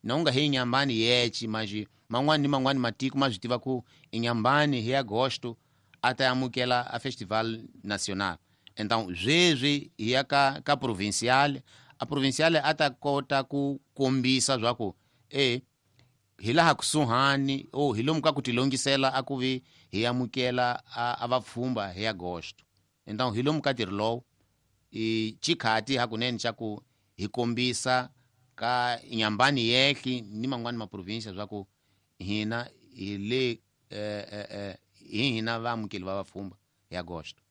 na u nga hi Inhambane yexe mas man'wani ni man'wani matiko ma swi tiva ku Inhambane hi agosto a ta amukela a festival nacional. Então sweswi hi ya ka ka provincial a provincial a ta kota ku kombisa swa ku e hi laha kusuhani o hi lomu ka ku tilongisela a ku vi hi amukela a, a vapfhumba hi agosto. Então hi lomu ka ntirho lowu i xikhati hakunene xa ku hi kombisa ka Inhambane yexe ni man'wani maprovinsia swa ku hina hi le eh, eh, eh, hi hina vaamukeli va vapfhumba hi agosto.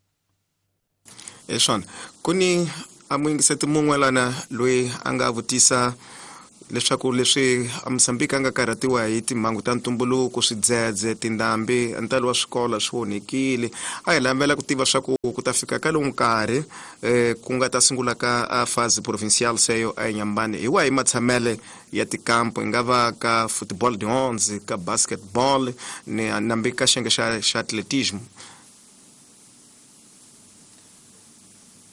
Eswona ku ni a muyingiseti mun'we lana loyi a nga vutisa leswaku leswi a Mozambique a nga karhatiwa hi timhangu ta ntumbuluko, swidzedze, tindhambi, ntalo wa swikolo swi onhekile. A hi lavela ku tiva swa ku ku ta fika ka lowu nkarhi eh, ku nga ta sungula ka a fase provincial seyo a Inhambane, hi wahi matshamele ya tikampo, yi nga va ka football de onze, ka basketball ni nambi ka xiyenge xa xa atletismo?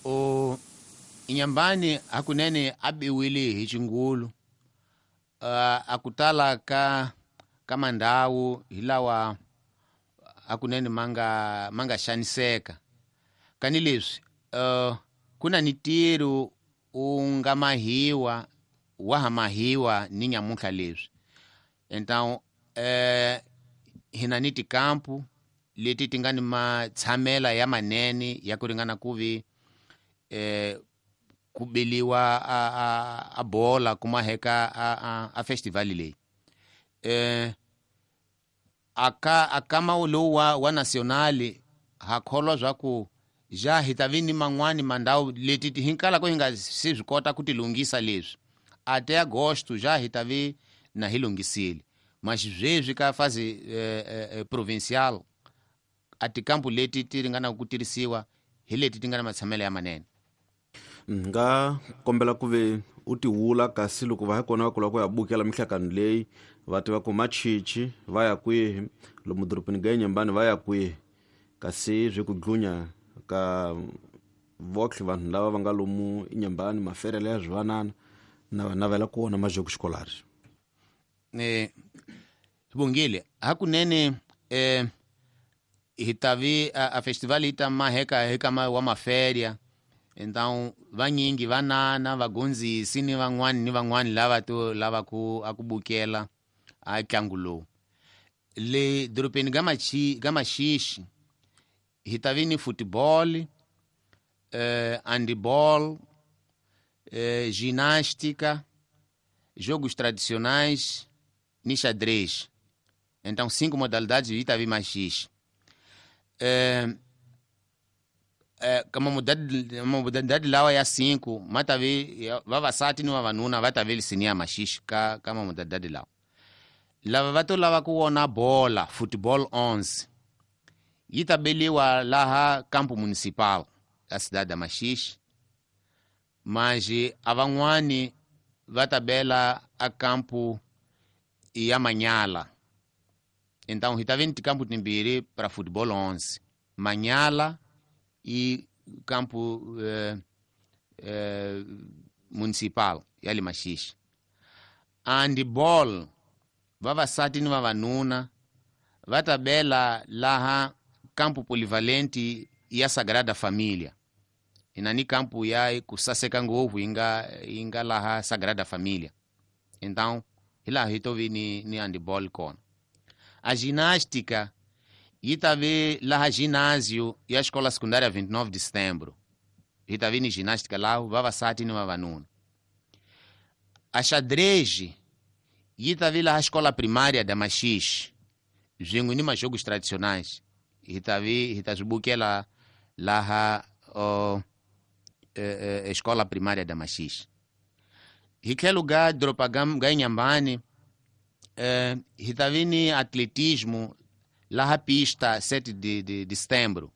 O Inhambane hakunene a biwile hi xingulu. Uh, akutala ka ka mandhawu hi lawa hakunene manga manga xaniseka. Kani leswi uh, ku na ni ntirho wu nga mahiwa wa ha mahiwa ni nyamuntlha leswi. Então eh, hi na ni tikampu leti ti nga ni matshamela ya manene ya ku ringana ku vi eh, ku beliwa a, a, a bola kuma heka a, a, a festival leyi. Eh, aka akama lowu wa, wa nationale ha kholwa swa ku ja hi ta vi ni man'wani mandhawu leti ti hinkala ko hi nga se swi kota ku ti lunghisa leswi. Ate agosto ja hi ta vi na hi lunghisile. Mas sweswi ka fase eh, eh, provincial a tikampu leti ti ringanaka ku tirhisiwa hi leti ti nga na matshamelo ya manene. Nga kombela ku ve u ti wula kasi loko va ha kona va kula ku ya bukela mihlakano leyi va tiva ku machichi va ya kwihi, lomu dorobeni ga Inhambane va ya kwihi, kasi swi ku dlunya ka votlhe vanhu lava va nga lomu Inhambane maferele ya swivanana na va navela ku vona majoko xikolari. Eh, Bongile hakunene eh, hi ta vi a, a festival yi ta maheka heka ma wa maferia. Então vanyingi vanana vagondzisi ni van'wani ni van'wani lava to lava ku a ku bukela a ntlangu lowu. Le dorobeni ga machi ga Maxixi hi ta vi ni football, eh, handball, eh, ginástica, jogos tradicionais ni xadrez. Então cinco modalidades hi ta vi Maxixi. Eh, eh, kama modalidade modalidade lawa ya cinco ma ta vi vavasati ni vavanuna va ta vi lisini ya Maxixi ka ka modalidade lawa. Lava va to lava ku vona bola football onze yi ta beliwa laha campo municipal ya cidade ya Maxixi, mas a van'wani va ta bela a campo ya Manyala. Então hi ta vi ni tikampo timbirhi para football onze, Manyala e campo eh, eh, municipal ya le Maxixi. Handball vavasati ni vavanuna va ta bela laha campo polivalente ya Sagrada Família. Inani campo ya ku saseka ngopfu yi nga yi nga laha Sagrada Família. Então hi laha hi to vi ni, ni handball kona. A ginástica yi ta vi laha ginásio ya escola secundária vinte e nove de setembro. Hi ta vi ni ginástica lá vavasati ni vavanuna. A xadrez yi ta vi laha escola primária da Maxixi swin'we ni majogos tradicionais. Hi ta vi hi ta swi bukela laha oh, eh, eh, escola primária da Maxixi. Hi tlhelo ga doroba ga, ga Inhambane eh, hi ta vi ni atletismo laha pista sete de, de, de setembro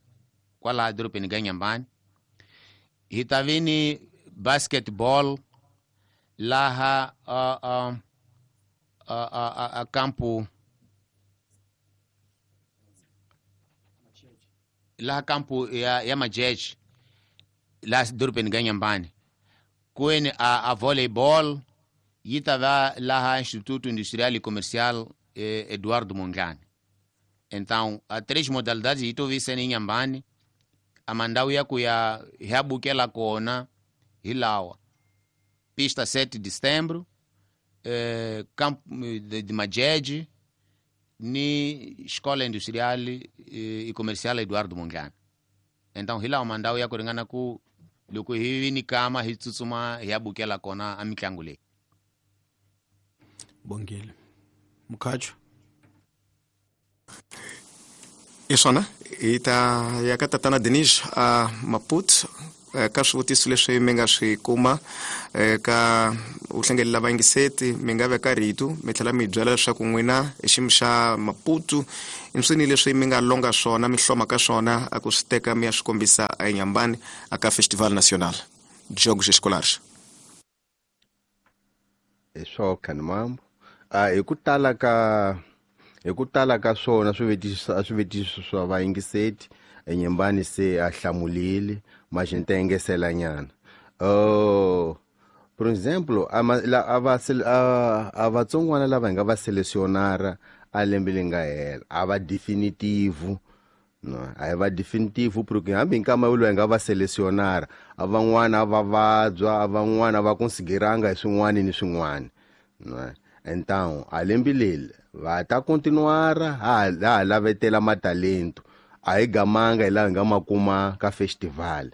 kwalaha dorobeni ga Inhambane. Hi ta vi ni basketball laha uh, uh, a, a, a campo laha campo ya, ya Majeje laha dorobeni ga Inhambane. Kweni a, a volleyball yi ta va laha Instituto Industrial e Comercial eh, Eduardo Mondlane. Então a três modalidades yi to vi sene Inhambane. A mandhawu ya ku ya hi ya bukela kona hi lawa: pista sete de setembro, eh, campo de, de Majeje ni Escola Industrial e Comercial Eduardo Mondlane. Então hi lawa mandhawu ya ku ringana ku loko hi vi ni kama hi tsutsuma hi ya bukela kona a mitlangu leyi. Bongile Mukhacho. Isona hi ta ya ka tatana Denis a Maputo ka swivutiso leswi mi nga swi kuma ka uhlengelela vayingiseti mi nga veka rito mi tlhela mi byela leswaku n'wina hi xiyimo xa Maputo i swini leswi mi nga longa swona mi hloma ka swona a ku swi teka mi ya swi kombisa eNyambani aka Festival Nacional Jogos Escolares. Hi swo Khanimambo a hi ku tala ka hi ku tala ka swona swivutiso a swivutiso swa vayingiseti eNyambani se a hlamulile mas a gente engesela nyana. Oh, por exemplo, a a a vatsongwana lava hi nga va selecionara a lembe leri nga hela a va definitivo no a hi va definitivo porque hambi nkama lowu hi nga va selecionara a van'wana va vabya a van'wana va consideranga hi swin'wana ni swin'wana no. Então a lembe leri va ta continuara ha ha lavetela matalento a hi gamanga hi laha hi nga ma kuma ka festival.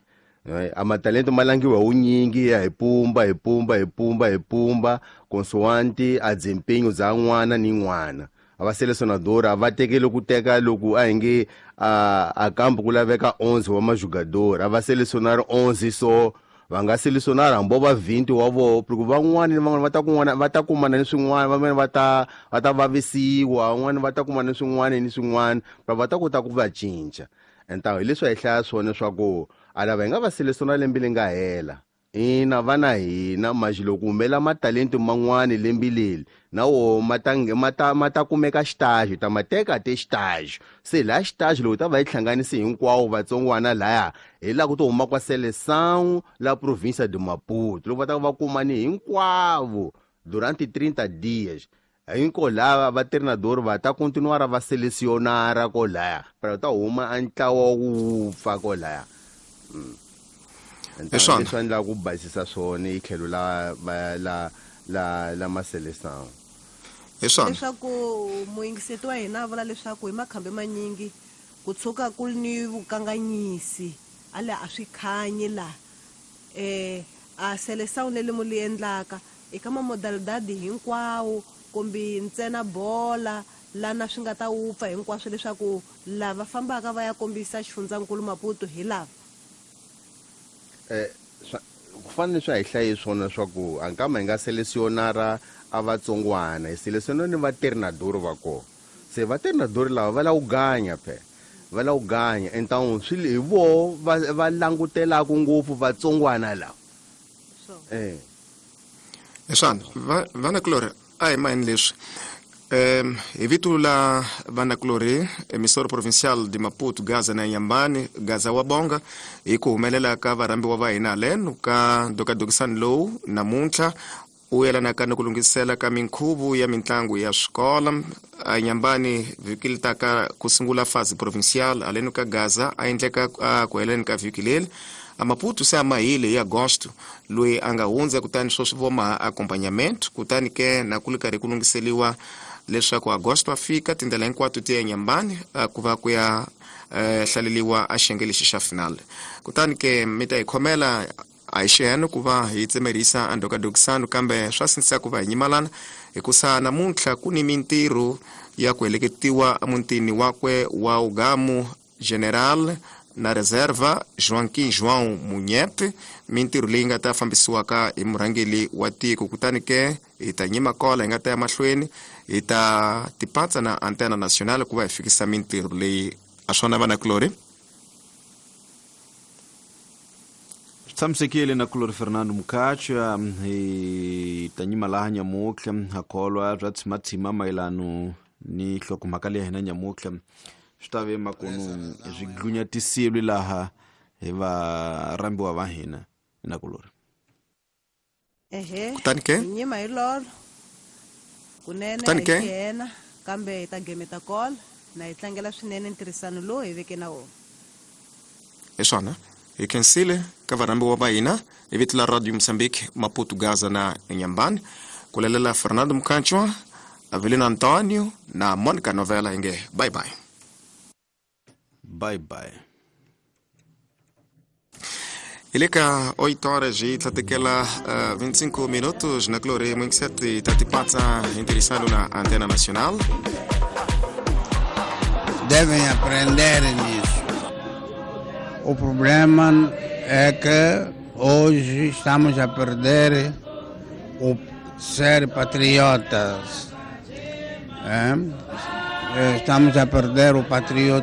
A matalento ma langiwa hi wunyingi ya hi pumba hi pumba hi pumba hi pumba consoante a desempenho za n'wana ni n'wana. A va selecionador a va tekeli ku teka loko a hi nge a a kampo ku laveka onze wa majogador a va selecionar onze so va nga selecionar hambi va vinte wa voho porque van'wani ni van'wana va ta kun'wana va ta kumana ni swin'wana van'wana va ta va ta vavisiwa van'wana va ta kumana ni swin'wana ni swin'wana va va ta kota ku va cinca. Então hi leswi hi hlaya swona swa ku a lava hi nga va selecionar lembe leri nga hela ina vana hina mas loko humela matalento man'wani lembe leri na wo ma ta ma ta ma ta kumeka xitaxo ta ma teka te xitaxo se laha xitaxo loko ta va yi hlanganise hinkwawo vatsongwana laya hi laha ku to huma kwa seleção la província de Maputo loko va ta va kumani hinkwavo durante trinta dias hinko lava va treinador va ta continuar va selecionar ko laya para ta huma a ntlawa wu pfa ko laya. Então leswi endla ku basisa swona hi tlhelo la la la la maseleção. Leswaku muyingiseti wa hina a vula leswaku hi makhambi manyingi ku tshuka ku ri ni vukanganyisi a le a swi khanyi laha um a seleção leri mu li endlaka eka mamodalidadi hinkwawo kumbe ntsena bola lana swi nga ta wupfa hinkwaswo leswaku lava fambaka va ya kombisa xifundzankulu Maputo hi lava. Eh ku fanele swi hi hlaye swona swa ku a nkama hi nga selecionara a vatsongwana hi selecionara ni vatreinador va kona se vatreinador lava va lava ku ganya phe va lava ku ganya então swi hi voho va va langutelaku ngopfu vatsongwana lava. Eh Eswana vanakulori a hi mayini leswi um hi vito la vanakulori emissora provincial de Maputo Gaza na Nyambani Gaza wa Bonga hi ku humelela ka varhambiwa va hina haleno ka ndokadokisani lowu namuntlha u yelanaka ni ku lunghisela ka minkhuvo ya mitlangu ya swikolo a Nyambani vhiki li taka ku sungula fase provincial haleno ka Gaza a endleka ku heleni ka vhiki leri a Maputo se a mahile hi agosto loyi a nga hundza kutani sweswi vo maha accompagnamento kutani ke na ku li karhi ku lunghiseliwa leswaku agosto a fika tindlela hinkwato ti ya Nyambani ku va ku ya hlaleliwa a xiyenge lexi xa final kutani ke mi ta hi khomela a hi xiheno ku va hi tsemerisa a ndokadokisano kambe swa sindzisa ku va hi nyimalana hikusa namuntlha ku ni mintirho ya ku heleketiwa emutini wakwe wa Ugamu General na reserva Joaquim João Munhete mintirho leyi nga ta fambisiwaka hi murhangeri wa tiko kutani ke hi ta nyima kola hi nga ta ya mahlweni hi ta tipatsa na antena nacional ku va hi fikisa mintirho leyi a swona vanakulori. Tshamisekile na kulori Fernando Mukhacha hi ta nyima laha nyamutlha ha kholwa bya tshimatshima mayelano ni nhlokomhaka leyi ya hina nyamutlha swi ta ve makunu swi glunyatisile laha hi varhambiwa va hina na kulori. Ehe kutani ke nyima hi lolo kunene Kutani ke? hi yena kambe hi ta gemeta kola na hi tlangela swinene ntirhisano lowu hi veke na wona. Hi swona hi khensile ka varhambiwa va hina hi vito la Radio Moçambique Maputo Gaza na Nyambani ku lalela Fernando Mukhanchwa Avelino Antonio na Monica Novela hi nge bye bye. Bye bye. Hi le ka oito horas e tlatekela uh, vinte e cinco minutos na Glória vinte e sete tatipatsa hi ntirhisano na Antena Nacional. Devem aprender nisso. O problema é que hoje estamos a perder o ser patriotas. É? Estamos a perder o patriotismo.